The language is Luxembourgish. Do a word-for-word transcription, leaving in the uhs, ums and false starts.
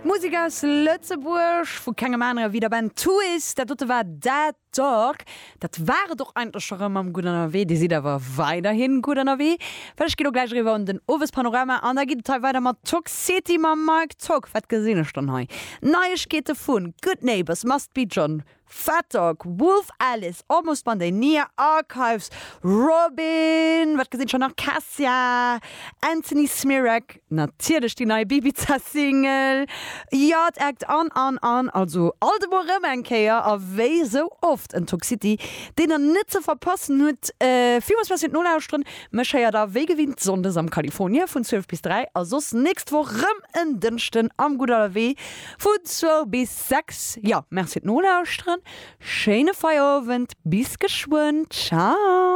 Musek aus Lëtzebuerg, vu kengem anere wéi der Band Twist. Dat dote war Dead Dog. Dat war et och eigentlech scho rëm mam Gutt Ënnerwee. Dir sidd awer weiderhin gutt ënnerwee, well ech ginn elo gläich eriwwer un den Owespanorama an da geet et hei weider mat Tock City mam Mike Tock. Wat gesinn ech dann hei? Neiegkeete vu Good Neighbors, Must Be John, Fat Dog, Wolf Alice, Almost Monday, Nia Archives, Robyn, wat gesinn ech nach? Cassia, Anthony Smirak, natierlech déi nei Bibiza Single, Yard Act an an an, also alt emol rëm eng Kéier a wéi sou oft en Tock City, deen der net ze verpassen hutt. Villmools Merci fir d'Nolauschteren, mech héiert der wéi gewinnt Sonndes am California vun zwielef bis dräi a soss nächst Woch rëm en Dënschden am Gutt Ënnerwee vun zwou bis sechs. Jo, Merci fir d'Nolauschteren. Schéine Feierowend, bis geschwënn, ciao!